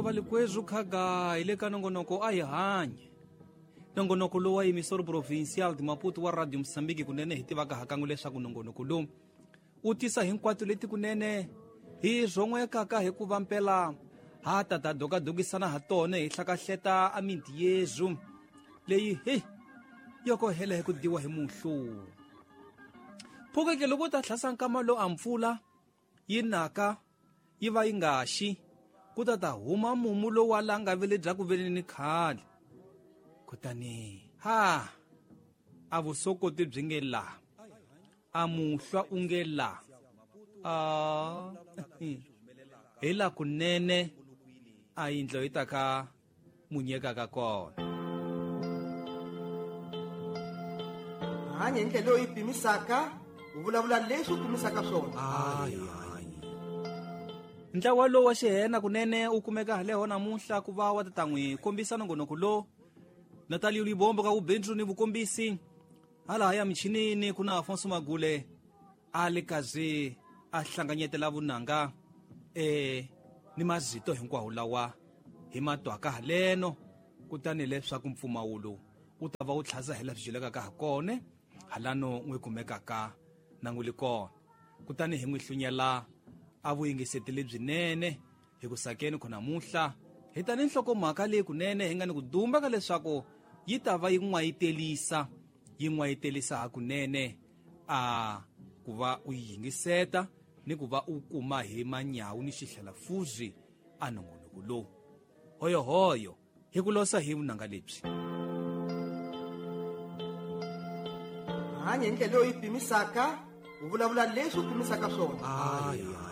Yo valikwezu khaga hi le ka nongonoko a hi hanye. Nongonoko lowu wa Emissor Provincial de Maputo wa Radio Mozambique kunene hi tivaka hakan'we leswaku nongonoko lowu wu tisa hinkwato leti kunene hi rhon'wekaka hikuva mpela ha ta ta dokadokisana ha tona hi hlakahleta a miti yezu leyi he yoko hela hi ku diwa hi muhlu. Phukeke loko ta hlasa nkama lowu a mpfula yi naka yi va yi nga xi ku ta ta huma mumu lowu wa la nga vele bya ku veleni khale. Kutani ha a vusokoti byi nge la a muhlwa u nge la a hi la kunene a yindlo yi ta ka munyekaka kona. Hanya hi ndlela leyi pimisaka, u vulavula leswi u pimisaka swona. Ntlawa lowu wa xihena kunene u kumeka haleho namuntlha ku va wa ta n'wi kombisa nongonoko lowu. Natalie Libombo ka vubindzu ni vukombisi hala ya michinini ku na Afonso Magule a le kazi a hlanganyetela vunanga ni mazito hinkwawo lawa hi matwaka haleno kutani leswaku mpfumawulo wu ta va wu tlhaza hi laha swi dyelekaka ha kona halano n'wi kumekaka na n'wi li kona. Kutani hi n'wi hlunyela a vuyingiseti lebyinene hi ku sakeni khona muhla hi ta ni nhlokomhaka leyi kunene hi nga ni ku dumba ka leswaku yi ta va yi n'wayitelisa yi n'wayitelisa hakunene a ku va u yingiseta ni ku va u kuma hi manyawu ni xihlalafuzi a nongonoko lowu. Hoyohoyo hi ku losa hi vunanga lebyi. Hanya hi ndlela leyi pimisaka, u vulavula leswi u pimisaka swona.